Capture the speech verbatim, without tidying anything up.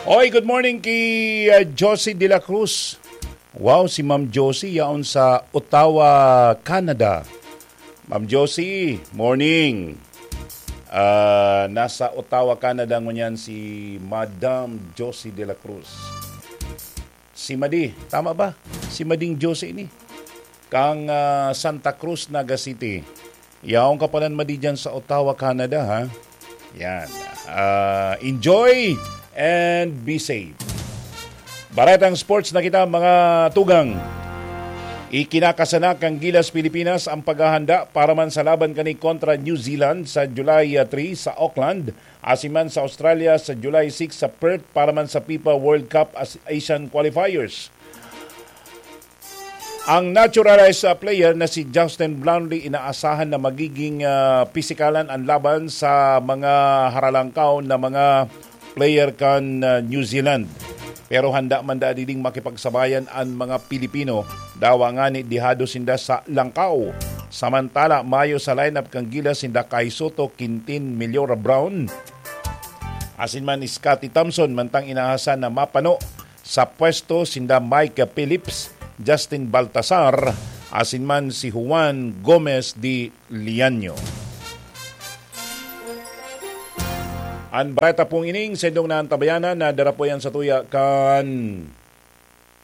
Oy, good morning ki, ah, Josie de la Cruz. Wow, si Ma'am Josie yaon sa Ottawa, Canada. Ma'am Josie, morning. Ah, nasa Ottawa, Canada ngunyan si Madam Josie de la Cruz. Si Madi, tama ba? Si Mading Josie ini. Kang, ah, Santa Cruz, Naga City. Yaon ka palan, Madi, dyan sa Ottawa, Canada, ha? Yan. Ah, enjoy and be safe. Baretang sports na kita, mga tugang. Ikinakasanak kan Gilas Pilipinas ang paghahanda para man sa laban kani kontra New Zealand sa July, ah, three sa Auckland, asin man sa Australia sa July six sa Perth para man sa fifa World Cup as Asian Qualifiers. Ang naturalized, ah, player na si Justin Brownlee inaasahan na magiging, ah, pisikalan ang laban sa mga haralangkaw na mga player kan, ah, New Zealand. Pero handa man da diding makipagsabayan an mga Pilipino, dawa ngani dihado sinda sa langkaw. Samantala, mayo sa lineup kan Gilas sinda Kai Soto, Quintin, Meliora Brown, asin man Scotty Thompson, mantang inaasahan na mapano sa pwesto sinda Mike Phillips, Justin Baltasar, asin man si Juan Gomez de Liaño. An bareta pong ining sendong naantabayanan na darapoyan sa tuya kan